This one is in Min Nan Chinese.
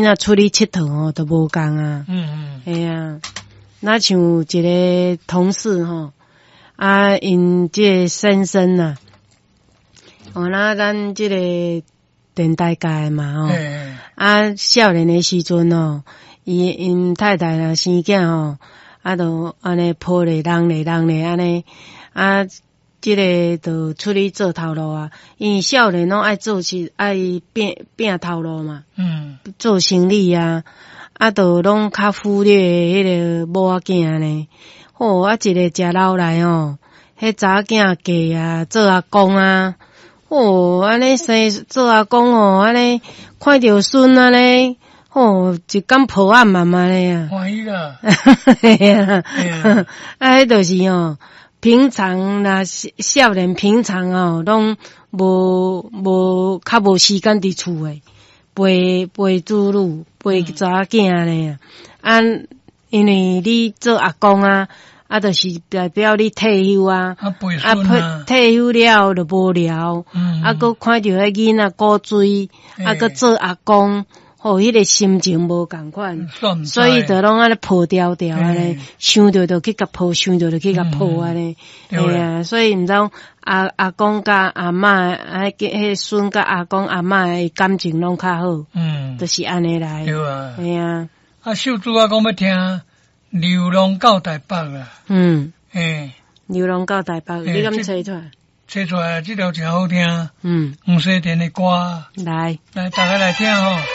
仔出去𨑨迌吼，都無仝啊。嘿啊，若像一个同事吼，啊，𪜶這个先生啊，哦，那咱這个電台界的嘛吼，啊，少年的時陣哦，伊𪜶太太若生囝吼，啊，就按呢抱咧、人咧、人咧按呢，啊，這个就出去做頭路啊，因為少年攏愛做事，愛拚拚頭路嘛，做生理啊，啊，就攏較忽略彼个某仔囝呢。吼，啊，一个食老來吼，彼查某囝嫁啊，做阿公啊，吼，按呢生做阿公吼，按呢看著孫按呢，吼，一工抱暗暗按呢啊。歡喜啦。嘿啊，啊，彼就是吼，平常若少年平常哦，攏無無較無時間佇厝的，陪陪子女，陪查某囝呢啊，因為你做阿公啊，啊，就是代表你退休啊，啊，陪孫啊，退休了就無聊，啊，閣看著彼囡仔古錐，啊，閣做阿公，吼，彼個心情無仝款，所以就攏按呢抱牢牢按呢，想著就去共抱，想著就去共抱按呢，嘿啊，所以毋知阿阿公佮阿嬤，啊，彼孫佮阿公阿嬤的感情攏較好，就是按呢來，對啊，嘿啊。啊，秀珠啊，講欲聽流浪到台北啦，流浪到台北，你敢揣出來？揣出來，這條誠好聽，黃西田的歌，來，來，大家來聽吼。